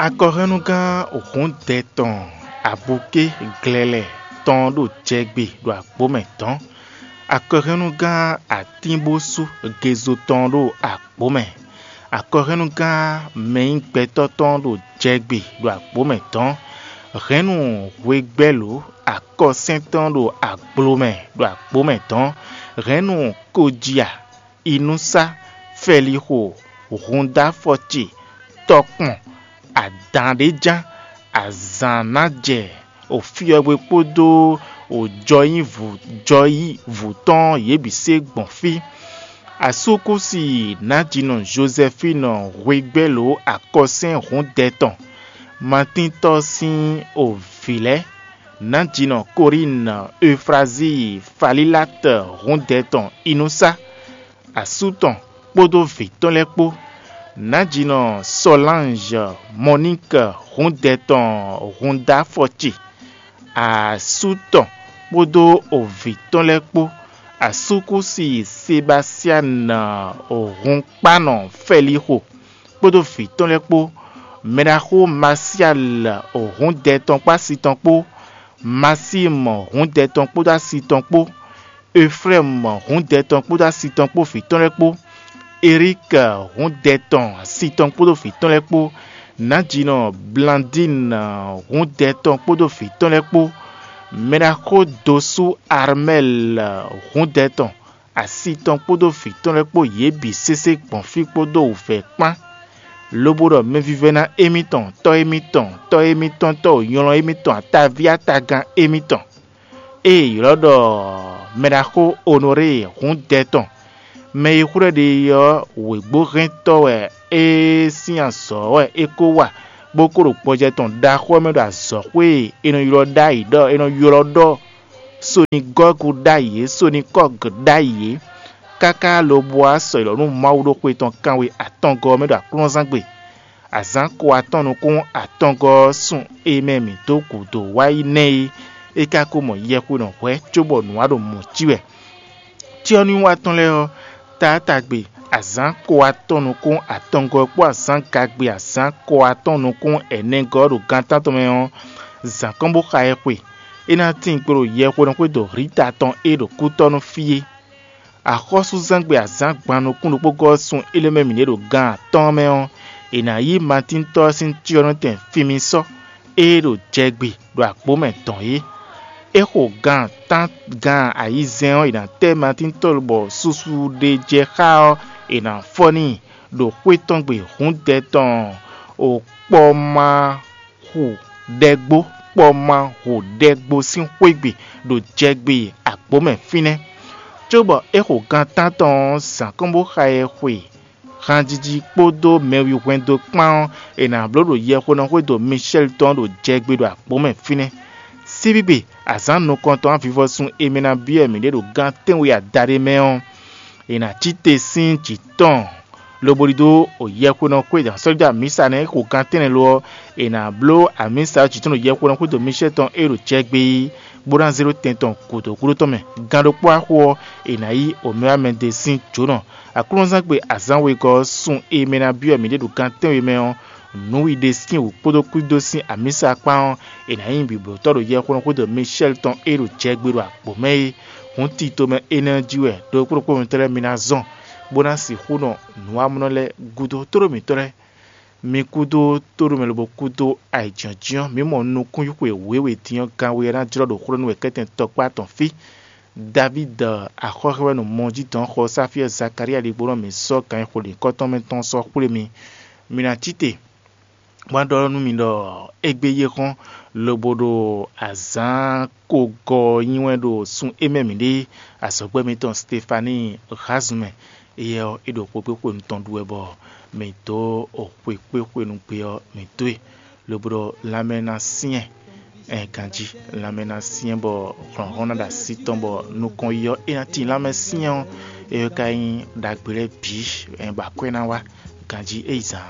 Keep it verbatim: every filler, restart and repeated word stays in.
Akɔhɛnnugán hǔndɛ tɔn abuké glɛlɛ tɔn ɖo jɛgbe ɖo agbǒ mɛ dɔ̌n. Akɔhɛnnugán atínbósú gezo tɔn ɖo agbǒ mɛ. Akɔhɛnnugán mɛnyígbɛtɔ́ tɔn ɖo jɛgbe ɖo agbǒ mɛ dɔ̌n. Hɛ̌nnu hwegbɛ́lǒ akɔsɛ́n tɔn ɖo aglo mɛ ɖo agbǒ mɛ dɔ̌n. Hɛ̌nnu koja inúsá, fɛlixo, hundáfɔci, tɔkpɔn, adǎn ɖé ján, azǎn ná jɛ òfyɔ́gbe kpódó òjɔyívǔ jɔyívǔ tɔn yě bǐ se gbɔn fí. Asúkúsi nǎjínɔ Jozɛfínu hwegbɛ́lǒ akɔsɛ́n hǔndɛ tɔn, Matíntɔ́ sín ovǐ lɛ́ɛ, nǎjínɔ Kolíinu Eufrazíi Falílátɔ hǔndɛ tɔn inúsá, asú tɔn kpódó vǐ tɔn lɛ́ɛ kpó, nǎjínɔ Sɔlánzɔ Mɔníkɛ hǔndɛ tɔn húndáfɔci, asú tɔn kpódó ovǐ tɔn lɛ́ɛ kpó, asúkúsi Sebasianu hunkpánɔ Fɛlixo kpódó vǐ tɔn lɛ́ɛ kpó, mɛɖaxó Masiali hǔndɛ tɔn kpó asi tɔn kpó, Masímu hǔndɛ tɔn kpódó asi tɔn kpó, Eflɛ́mu hǔndɛ tɔn kpódó asi tɔn kpó vǐ tɔn lɛ́ɛ kpó, Eríki hǔndɛ tɔn asi tɔn kpódó vǐ tɔn lɛ́ɛ kpó, nǎjínɔ Blandínu hǔndɛ tɔn kpódó vǐ tɔn lɛ́ɛ kpó, mɛɖaxó dosú Armɛ́li hǔndɛ tɔn asi tɔn kpódó vǐ tɔn lɛ́ɛ kpó yě bǐ sésé gbɔn fí kpódó wǔvɛ́ kpán, lobo ɖɔ mɛvívɛ́ná émítɔn, tɔ́ émítɔn, tɔ́ émítɔn, tɔ́ wǒnylɔ́ émítɔn, ataví atagán émítɔn. Ée è ylɔ́ ɖɔ mɛɖaxó Onorée hǔndɛ tɔn, mɛ e xwlɛ́ ɖe é ɔ́, wěgbóhɛntɔ́ wɛ é sín azɔ̌ wɛ é ko wa, bó ko ɖo gbɔjɛ tɔn ɖaxó ɔ́ mɛ ɖo azɔ̌xwé e è nɔ ylɔ́ ɖ'ayǐ ɖɔ è nɔ ylɔ́ ɖɔ Sonigɔ́gu ɖ'ayǐ é, Sonikɔ́gu ɖ'ayǐ é, káká lobo wá sɔ́ ylɔ́ nú Mawu ɖo xwe tɔn kanwe atɔngɔ́ ɔ́ mɛ ɖo aklúnɔzángbe. Azǎn ko atɔn nukún atɔngɔ́ ɔ́ sun e mɛ mǐ dó gǔdo wá yi nɛ́ é, é ka ko mɔ yɛhwenɔ hwɛ̌ cóbɔ nǔ wá ɖo mɔ̌ cí wɛ. Cyɔ́núwiwa tɔn lɛ́ɛ ɔ́, taátagbe azǎn ko atɔn nukún atɔngɔ́ kpó azǎn gagbe azǎn ko atɔn nukún ɛnɛgɔ́ ɖo gan tántɔn mɛ ɔ́, zǎn kɔn bó xa ɛ xwe. É ná tín gbe ɖo yɛhwenɔ xwédo Hlita tɔn e ɖo kútɔ́ nú fí é. Axɔ́súzángbe azǎn gban nukún ɖokpó gɔ́ sun é lɛ́ mɛ mǐɖée ɖo gan atɔ́ɔ́n mɛ ɔ́, è nǎ yí Matíntɔ́ ɔ́ sín cyɔ́nɔtɛn fimísɔ́ e ɖo jɛgbe ɖo agbǒ mɛ dɔn é. É xo gan tán gan ayizɛ́n ɔ́, è nǎ tɛ́ Matíntɔ́ bɔ susu ɖé jɛ xá ɔ́, è nǎ fɔ n'i ɖo xwé tɔn gbe hǔndɛ tɔn o kpɔ́ má hu ɖɛgbó kpɔ́ má hu ɖɛgbó sín xwé gbe ɖo jɛgbe agbǒ mɛ fínɛ́. Cóbɔ é xo gan tántɔn ɔ́, zǎn kɔn bó xa ɛ xwe hanjiji kpódó mɛwihwɛndo kpán ɔ́, è nǎ bló ɖo yɛhwenɔ xwédo Mishɛ́li tɔn ɖo jɛgbe ɖo agbǒ mɛ fínɛ́. Síbígbe azǎn nukɔntɔn avivɔsun e mɛ ná byɔ́ mǐɖée ɖo gan tɛ́nwe adaɖé mɛ ɔ́, è nǎ cí te sín jǐ tɔn lobo ɖidó yɛhwenɔ xwé sɔ́ja mǐsa nɛ́ xo gan tɛ́nnɛ lo ɔ́, è nǎ bló amǐsa ɔ́ jǐ tɔn ɖo yɛhwenɔ xwédo Mishɛ́li tɔn e ɖo jɛgbe é, bó ná zé ɖó tɛn tɔn gǔdo gúdo tɔn mɛ. Gan ɖokpó axo ɔ́, è nǎ yí omɛ́wámɛdé sín jǒnɔ. Aklúnɔzángbe azǎn wegɔ́ ɔ́ sun e mɛ ná byɔ́ mǐɖée ɖo gan tɛ́nwe mɛ ɔ́, nǔwiɖe sín wǔ kpódó kwídó sín amǐsa kpán ɔ́, è nǎ nyí bǐblótɔ́ ɖo yɛhweɖɔxwédo Mishɛ́li tɔn e ɖo jɛgbe ɖo agbǒ mɛ é. Hǔn tito mɛ énɛ́ ɔ́ jí wɛ ɖokpó ɖokpó mitɔ́ lɛ́ɛ mi ná zɔn, bó ná sixú nɔ nǔwamlɔ lɛ́ɛ gúdo tóɖó mǐtɔn lɛ́ɛ. Mi kúdó tóɖó mɛ lobo kúdó ayǐjínjɔ́n, mǐ mɔ nukúnxwé wěwe din ɔ́, gan we ɔ́ ná jlɔ́ ɖo xwlé nú wɛ kɛ́tɛn tɔkpá tɔn fí. Davídi axɔ́ xɛ wɛ nɔ mɔ jí dɔn xɔ Sáfiyɛ́ɛ Zakalía ɖigbó nɔ mǐ sɔ́ ganxixo ɖěkɔ́ tɔn mɛ tɔn sɔ́ xwlé mi. Mi ná cí te, bó ná ɖɔ nú mi ɖɔ égbé yi é xɔ́n, lobo ɖo azǎn kogɔ nyi wɛ ɖo sun e mɛ mǐ ɖe azɔ̌gbɛ́ mitɔn Stefaníi Hlazun mɛ. Éyɛ́ ɔ́, é ɖo xwekpéxwenu tɔn ɖu wɛ bɔ mǐ dó xwekpéxwenu gbe ɔ́, mǐ dó e, lobo ɖɔ lanmɛ ná syɛ́n, ɛn ganjí, lanmɛ ná syɛ́n bɔ hlɔ̌nhlɔ́n ná ɖo así tɔn bɔ nukɔn yi ɔ́, é ná tíin lanmɛ syɛ́n ɔ́, é ka nyí ɖagbe lɛ́ɛ bǐ, ɛn bɔ akwɛ́ ná wá ganjí é yi zǎn.